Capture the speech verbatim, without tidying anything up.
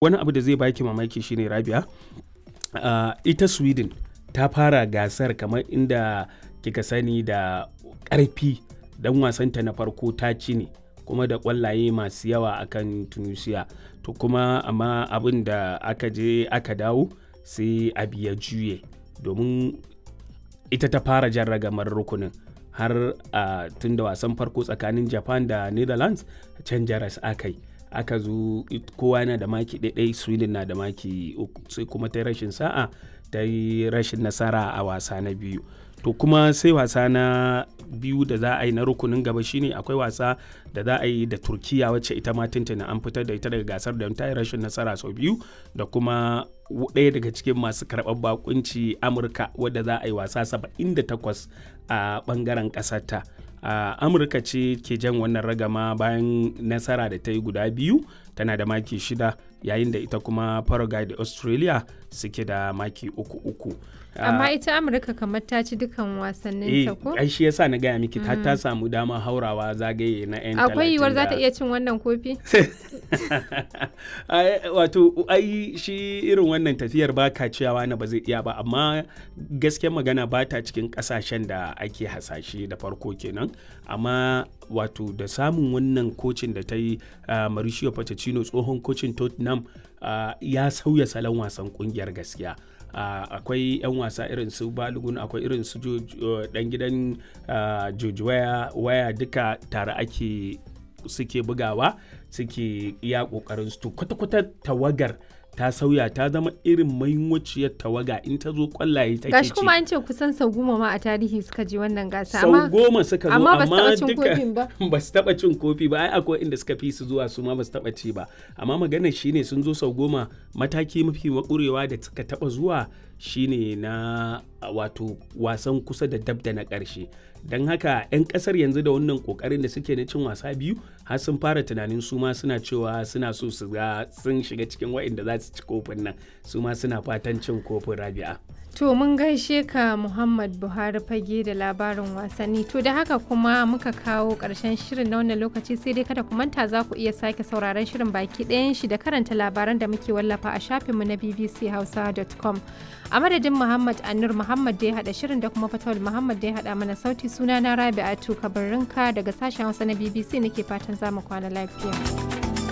Wani abu da zai baki mamaki shine Rabia, ah, ita Sweden ta fara gasar kamar inda kika sani da ƙarfi dan wasanta na farko ta ci ne kuma da ƙwallaye masu yawa akan Tunisia. To kuma amma abin da aka je aka dawo sai abu ya juye domin ita ta fara jan ragamar rukunin har a tun da wasan farko tsakanin Japan da Netherlands can jaras aka yi. Aka zo kowa yana da maki ɗaiɗai Sweden na da maki uku sai kuma ta yi rashin sa'a ta yi rashin nasara a wasa na biyu. To kuma sai wasa na biyu da za a yi na rukunin gaba shine akwai wasa da za a yi da Turkiyya wacce ita ma tuntuni an fitar da ita daga gasar don ta yi rashin nasara sau biyu da kuma ɗaya daga cikin masu karɓar bakunci Amurka wadda za a yi wasa saba'in da takwas a ɓangaren ƙasarta. A Amurka ce ke jan wannan ragama bayan nasara da ta yi guda biyu tana da maki shida yayin da ita kuma Paraguay da Australia suke da maki uku uku. Amma ita Amurka kamar ta ci dukan wasannin ta ko? Eh, ai shi yasa na gaya miki ta ta samu dama haurawa zagaye na 'yan Akwai yiwuwar za ta talatin da iya cin wannan kofi? Ai, wato ai shi irin wannan tafiyar ba ka cewa na ba zai iya ba amma gaskiyar magana ba ta cikin kasashen da ake hasashe da farko kenan amma wato da samun wannan kocin da ta yi ah, Mauricio Pochettino tsohon kocin Tottenham ah, ya sauya salon wasan kungiyar gaskiya. Uh, akwai 'yan wasa irin su Balogun akwai irin su dan gidan uh, George Weah waya duka tare ake suke bugawa suke iya kokarin su to kwata-kwata tawagar ta sauya ta zama irin mainwaciyar tawaga in ta zo kwallaye take Gashi ci kuma an ce kusan sau goma ma a tarihi suka je wannan gasa sau amma goma suka zo amma ba su amma taɓa cin duka kofin ba. ba su taɓa cin kofi ba ai akwai inda suka fi su zuwa su ma ba su taɓa ci ba amma maganar shine sun zo sau goma mataki mafi makurewa da suka taɓa zuwa shine na wato wasan kusa da dab da na ƙarshe don haka 'yan ƙasar yanzu da wannan ƙoƙarin da suke na cin wasa biyu har sun fara tunanin su ma suna cewa suna so su ga sun shiga cikin waɗanda za su ci kofin nan su ma suna fatan cin kofin rabi'a. To mun gaishe ka Muhammad Buhari fage da labarin wasanni. To da haka kuma muka kawo ƙarshen shirin na wannan lokaci sai dai kada ku manta za ku iya sake sauraron shirin baki ɗayan shi da karanta labaran da muke wallafa a shafinmu na bbchausa dot com. A madadin Muhammad Anur Muhammad da ya haɗa shirin da kuma Fatawul Muhammad da ya haɗa mana sauti suna na Rabi'atu Kabarrinka daga sashen Hausa na B B C nake fatan za mu kwana lafiya.